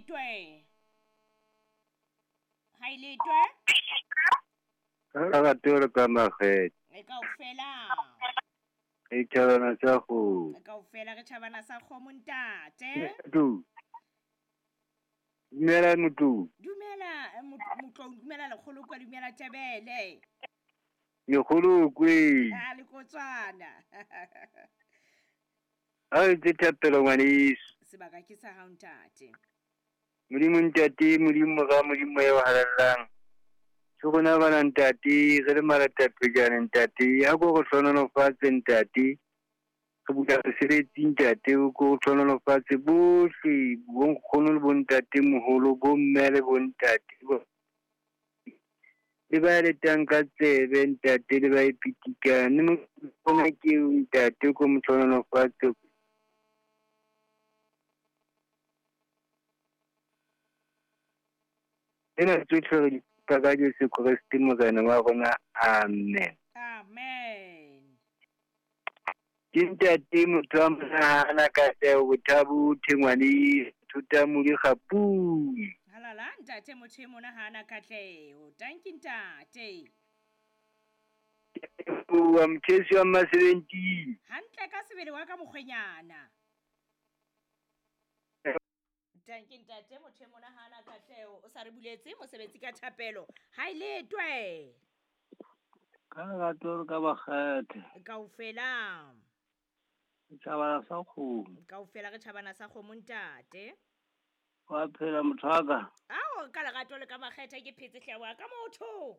letwe. Ha e letwe. Ka lerato le ka makgethe. E kaofela. Re tjhabana sa kgomo. E kaofela re tjhabana sa kgomo ntate. Motho. Dumela motho. Dumela eh, motlo, dumela lekgolokwe, dumela Tebele. Lekgolokwe. A le kotswana. Ha re tse thapelo ngwaneso. Sebaka ke sa hao ntate. Modimo ntate, Modimo Mora, Modimo Moya o Halalelang. Ke rona bana ntate, re le malatapejane ntate. A ko re hlohonolofatse ntate. Re bula mosebetsi ntate, o ko re hlohonolofatse bohle, bonkgono le bontate moholo, bomme le bontate. Le ba letang ka tsebe ntate, le ba e pitikang. Le mona ke ntate, o ko mo hlohonolofatse. Tsena tsohle re di kopa ka Jesu Kreste Morena wa rona. Amen. Amen. Ke ntate motho wa monahana katleho bothabo thengwane thota modi gapung. Halala ntate motho e monahana katleho. Tanki ntate. Wa motjhesi wa ma 17. Hantle ka sebele wa ka mokgwenyana. Tanki ntate motho e monahana katleho o sa re buletse mosebetsi ka thapelo. Ha e letwe. Ka lerato le ka makgethe. Kaofela. Tjhabana sa kgomo. Kaofela re tjhabana sa kgomo ntate. Wa phela motho wa ka. Ao ka lerato le ka makgethe ke phetse hle wa ka motho.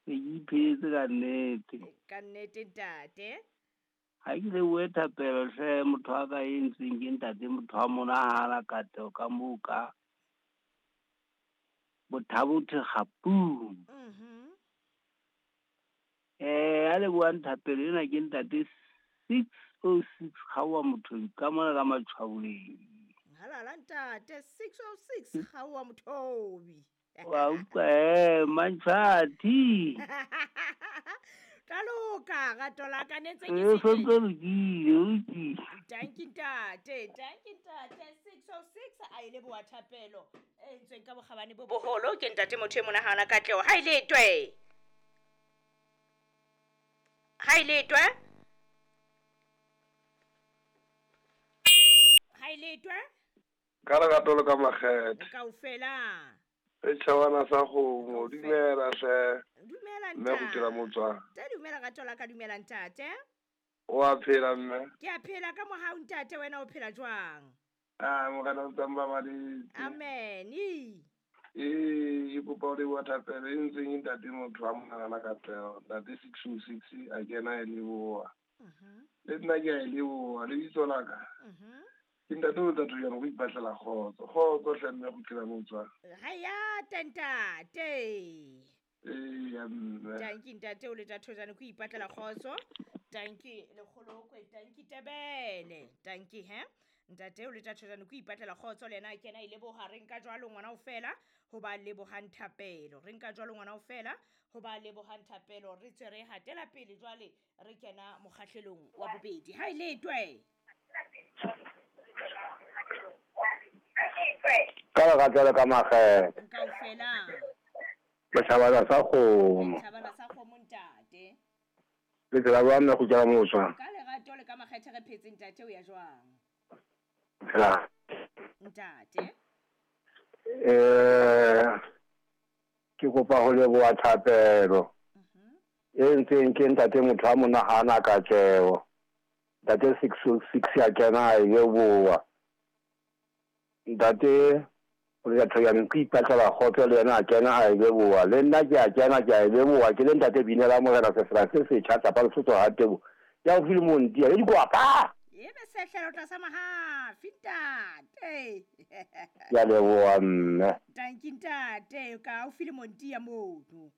Ke iphetse ka nnete. Ka nnete ntate. Ha ke lebohe thapelo hle motho wa ka e entsweng ke ntate motho wa monahana katleho ka moo ka bothabothe gapung. A lebohang thapelo ena ke ntate 606 Kgaowa Mothobi ka mona ka Matshwaboleng. Halala ntate 606 Kgaowa Mothobi. Wa utlwa Mantshwathi. Tla loka rato la ka ne ntse ke se sentse lokile o lokile. Tanki ntate, tanki ntate 606 a e leboha thapelo e entsweng ka bokgabane bo boholo ke ntate motho e monahana katleho. Ha e letwe. Ha e letwe. Ha e letwe. Ka lerato le ka makgethe. Kaofela. E tjhabana sa kgomo, dumela hle. Dumela Mme Kgutlela Motswana. Ntate. Dumela rato la ka, dumela ntate. O a phela mme? Ke a phela ka mohau ntate, wena o phela jwang? Ah, morena o tsamba maletse. Amen. Ee, ke kopa ho leboha thapelo e ntseng ntate motho wa monahana katleho. Ntate 606 a kena e leboha. Le nna ke a e leboha, lebitso la ka. Ke ntate o tla thojana go ipatlela kgotso. Kgotso hle mme Kgutlela Motswana. Ha ya ntate. Ee, mme. Tanki ntate o le tla thojana go ipatlela kgotso. Tanki lekgolokwe, tanki Tebele. Tanki he. Ntate o le tla thojana go ipatlela kgotso le yena a kena e leboha re nka jwalo ngwana o fela ho ba lebohang thapelo. Re nka jwalo ngwana o fela ho ba lebohang thapelo re tswe re hatela pele jwale re kena mokgahlelong wa bobedi. Ha e letwe. Ka lerato le ka makgethe. Kaofela. Tjhabana sa kgomo. Tjhabana sa kgomo ntate. Le tsela ba mme Kgutlela Motswana. Ka lerato le ka makgethe re phetse ntate o ya jwang? Phela. Ntate. Ke kopa ho leboha thapelo. E ntseng ke ntate motho wa monahana katleho. Ntate 606 ya kena e leboha. Ntate o le thojana ke ipatlela kgotso le yena a kena a e leboha. Le nna ke a kena ke a e leboha. Ke le ntate Binela Morena sefela se setjha tlapa Lesotho ha tebo. Ya o file montia le dikwapa. Ebe sehlelo tlasa mahafi ntate. Ke a leboha mme. Tanki ntate ka o file montia mono.